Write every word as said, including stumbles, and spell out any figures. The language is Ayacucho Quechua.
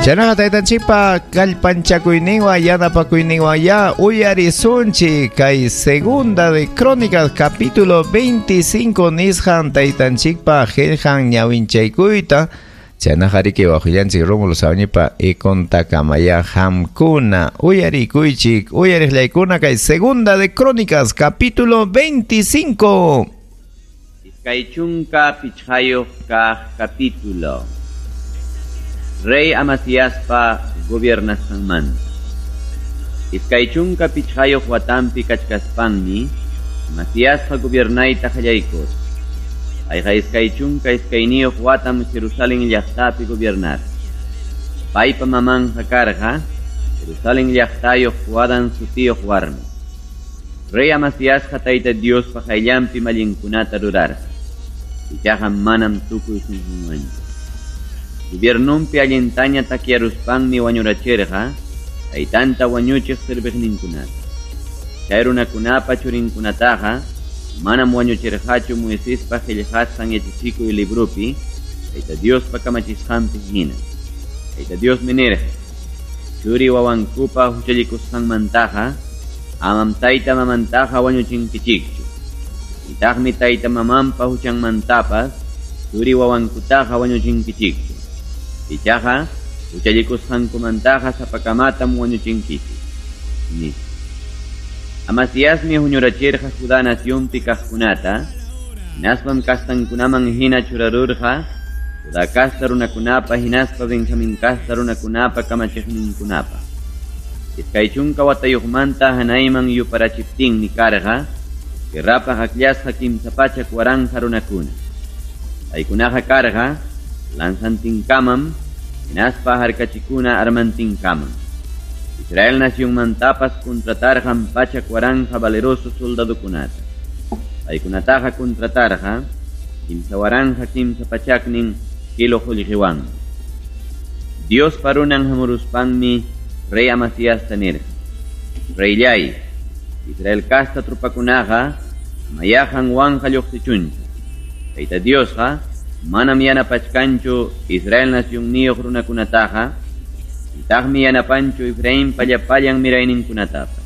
Chaynaqa taytanchikpa kallpanchakuyninwan yanapakuyninwan ya uyarisunchik kay Segunda de Crónicas capítulo veinticinco nisqan taytanchikpa qillqan ñawinchaykuyta. Chaynaqa riki waqllanchik Rómulo Sabañipa ikuntakamaya hamkuna uyarikuychik uyariqllaykuna kay Segunda de Crónicas capítulo veinticinco. Iskay chunka pichqayuq kaq capítulo. Rey Amasiaspa gobiernasqanmanta. Iskay chunka pichqayuq watanpi kachkaspanmi Amasiasqa gobiernayta qallaykurqa. Payqa iskay chunka iskayniyuq watam Jerusalén llaqtapi gobiernar. Paypa mamanqa karqa Jerusalén llaqtayuq Joadán sutiyuq warmi. Rey Amasiasqa Tayta Diospa qayllanpi mallinkunata rurarqa. Ichaqa manam tukuy sunqunwanchu. Gobiernunpi allintaña takyaruspanmi wañurachirqa taytanta wañuchiq serviqninkunata. Chay runakunapa churinkunataqa manam wañuchirqachu Moisespa qillqasqan yachachikuy librupi Tayta Diospa kamachisqanpi hina. Tayta Diosmi nirqa: churi wawankupa huchallikusqanmantaqa amam tayta mamantaqa wañuchinkichikchu. Nitaqmi tayta mamanpa huchanmantapas churi wawankutaqa wañuchinkichikchu. Ichaqa huchallikusqankumantaqa sapakamatam wañuchinkichik. Nispa. Amasiasmi huñurachirqa Judá nacionpi kaqkunata, hinaspam kastankunaman hina churarurqa Judá kasta runakunapa hinaspa Benjamín kasta runakunapa kamachiqninkunapa. Iskay chunka watayuqmanta hanayman yuparachiptinmi karqa guerrapaq akllasqa kimsa pachak waranqa runakuna. Paykunaqa karqa lanzantinkamam hinaspa harkachikuna armantinkamam. Israel nacionmantapas contratarqan pachak waranqa valeroso soldadokunata. Paykunataqa contratarqa kimsa waranqa kimsa pachaknin kilo qullqiwanmi. Dios parunan hamuruspanmi rey Amasiasta nirqa: Reyllay, Israel kasta trupakunaqa mayahan wanqa lluqsichunchu. Tayta Diosqa manam yanapachkanchu Israel nacionniyuq runakunataqa, nitaqmi yanapanchu Efrainpa llapallan mirayninkunatapas.